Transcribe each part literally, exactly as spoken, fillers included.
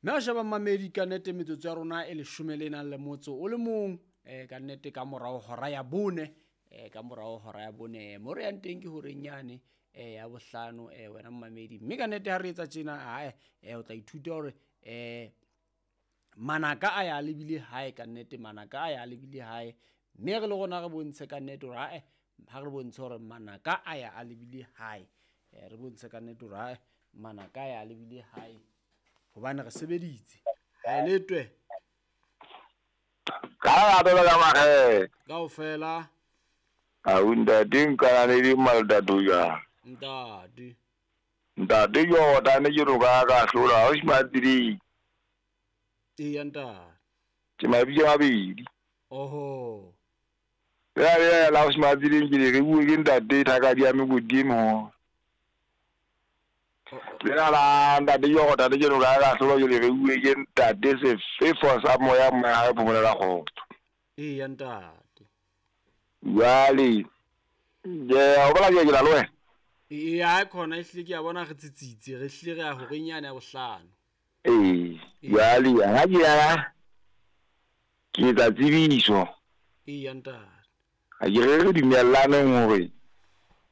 Mme a sheba mmamedi ka nnete metsotso ya rona e leshome le nang le motso o le mong eh ka nnete ka morao hora ya bone eh ka morao hora ya bone mo re yang teng ke horeng yane eh ya bohlano eh wena mmamedi mme ka nnete ha re etsa tjena ae eh o tla ithuta hore eh manaka a ya lebile hae ka nnete manaka a ya lebile hae mme re le rona re bontshe ka nnete hore ae ha re bontshe hore manaka a ya a lebile hae eh re bontshe ka nnete hore ae manaka a ya lebile hae hobane re sebeditse ha letwe ka la bela ka mare kaofela a ntate nka le di maltatu ya ntate ntate yo tane ke roka ka hlola o smatri e ntate ke mabitso a mabedi oho ya ya la o smatri ke re bue ke ntate thaka di ya megodimo le la ntate yo ntate ke roka ka hlola ke re bue ke ntate sefefo sa moya moya phomolela kgotso e ntate jwale je o bola ke la loe e a khona e hlile ke a bona re tsitsitse re hlile re ya horeng yane ya bohlano ee jwale ha ke ya ke tsa tsebiso e ntate ha ke re re dumellaneng hore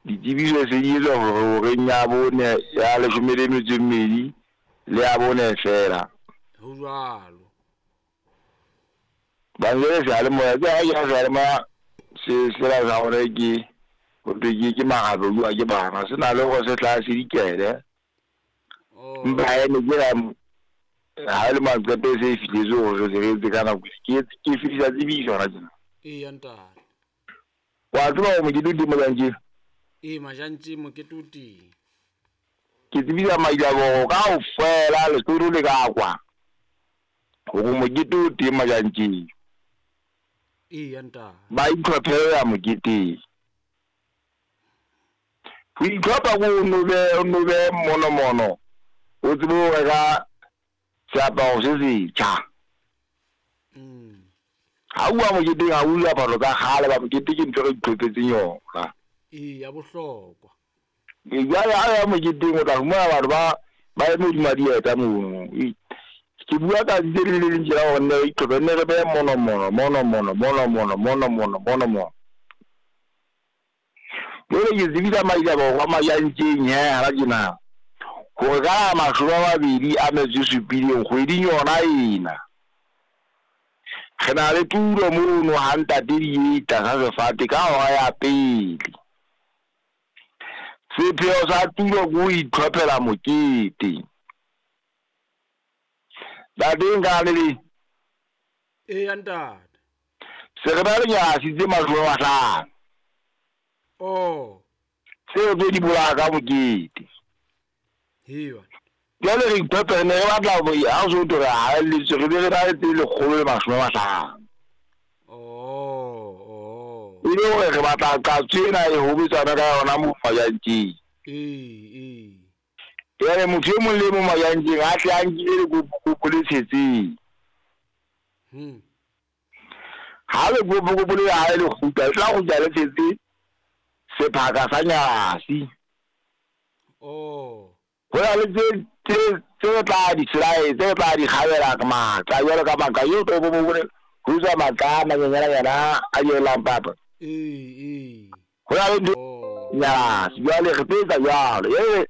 ditsebiso se di etswa hore horeng ya bone ya leshome le metso e mmedi le ya bone fela ho jwalo ba le seyalemoya ke ha ke seyalemoya se se la sa hore ke ho thwe ke ke magabe bua ke bana se na le hore se tla se dikele mpa ene ke la ha le maqeto se e fihletse hore re se re etse ka nako ke ke fihla tsebiso hona tjena ee ntate wa tseba hore mokete o teng Majantjeng ee Majantjeng mokete o teng ke tsebisa Mailaboro kaofela Lesotho le ka kwa hore mokete o teng Majantjeng ee ntate ba itlhophela moketeng ho itlhopha ko o be o no be monomono o tsebe ho reka seaparo se setjha mm ha o a moketeng ha o diaparo tsa kgale ba mokete ke ntho e re itlhophetseng yona ee ya bohlokwa e jwale ha ya moketeng o tla fumana batho ba ba eme hodima dieta mono ke bua ka tse le le leng tjena hore nne re itlhophe nne re behe monomono monomono monomono monomono monomono jwale ke tsebisa Mailaboro wa Majantjeng he hara tjena hore ka mashome a mabedi a metso e supileng kgweding yona ena re na le tulo mono ha ntate di etla sa sefate ka hora ya pele sepheo sa tulo ke ho itlhophela mokete ntate nka le le ee ntate se re ba le nyasi tse mashome a mahlano oh tseo tse di bolaya ka mokete hewa jwale re itlhophe ne re batla ha o so thwe re haelletswe re be re na le tse lekgolo le mashome a mahlano oh oh e le hore re batla qatso ena e hobetsana ka yona mo Majantjeng ee ee jwale motho e mong le e mong Majantjeng a tle a nkile lekopokopo le tshetseng hmm ha lekopokopo le hae le kgutla le tla kgutla le tshetse sephaka sa nyasi oh ho na le tse tse tse tla di slide tse tla di kgabela ka matla jwalo ka maka eo to bo bone ho tswa matla a manyenyana a yelang papa ee ee ho na le oh nyasi jwale re tlo etsa jwalo e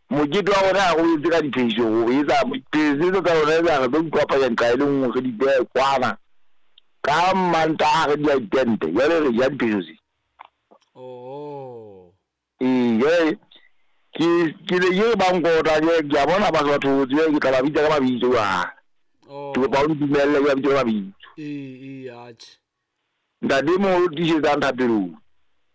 mokete wa rona ha re o etse ka diphehiso o etsa diphehiso tsa rona etsa re tlo ikopanya nqa e le nngwe re di behe kwana ka Mantaha re di ya ditente jwale re ja diphehiso tse oh ee jwale ke ke le ke ba nkota ke ke a bona ba batho tse ke tla ba bitsa ka mabitso jwale oh ke kopa o ntumelle ke ba bitse ka mabitso ee ee atjhe ntate e mong o tiisetsang thapelong